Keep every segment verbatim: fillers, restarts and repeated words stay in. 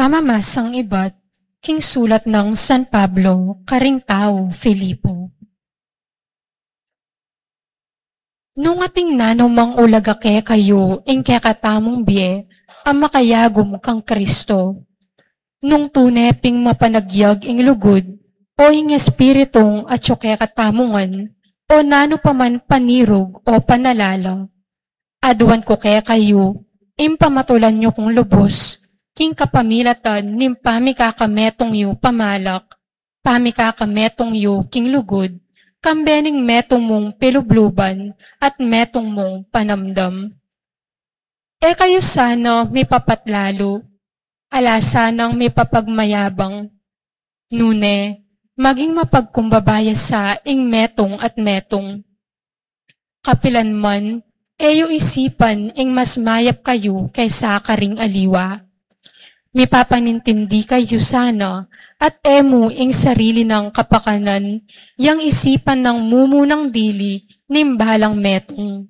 Pamamasang ibat king sulat nang San Pablo karing tau Filipo. Nung ating nanumang ulaga kekayu ing kekatamung bie a makayagum kang Kristo, nung tune ping mapanagyag ing lugud, o ing espiritung atyu kekatamu ngan, o nanu pa man panirug o panalala, aduan ku kekayu ing pamatulan yu kung lubus, king kapamilatan ning pamikakametung yu pamalak, pamikakametung yu king lugud, kambe ning metung mung pilubluban at metung mung panamdam. E kayu sana mipapatlalu, ala sanang mipapagmayabang, nune, maging mapagkumbaba ya sa ing metung at metung. Kapilan man, e yu isipan ing mas mayap kayu kesa karing aliwa. Mipapanintindi kayu sana, at e mu ing sarili nang kapakanan yang isipan nang mumunang dili ning balang metung.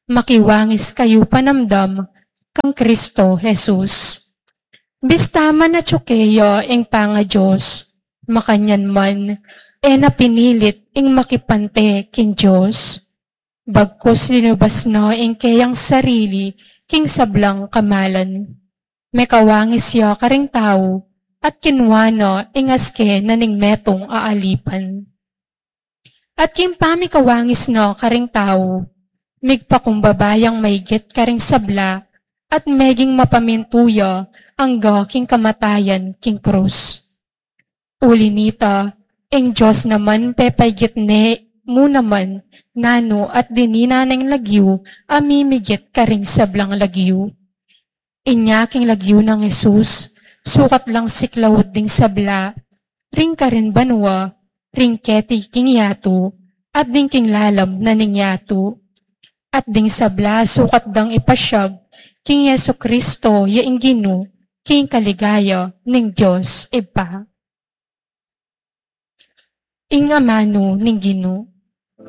Makiwangis kayu panamdam kang Kristo Jesus. Bista man atyu keya ing pangaDios, makanyan man, e na pinilit ing makipante king Dios. Bagkus linubas na ing keyang sarili king sablang kamalan. Mekawangis ya karing tau, at kinua na ing aske na ning metung a alipan. At king pamikawangis na karing tau, migpakumbaba yang maigit karing sabla, at meging mapamintu ya angga king kamatayan king krus. Uli nita, ing Dios naman pepaigit ne mu naman nanu at dininan neng lagyu a mimigit karing sablang lagyu. Inya king lagyu nang Jesus, sukat lang siklaud ding sabla, ring karin banua, ring keti king yatu, at ding king lalam na ning yatu. At ding sabla sukat dang ipasyag king Jesu Kristo ya ing Ginu, king kaligaya ning Dios Ibpa. Ing amanu ning Ginu.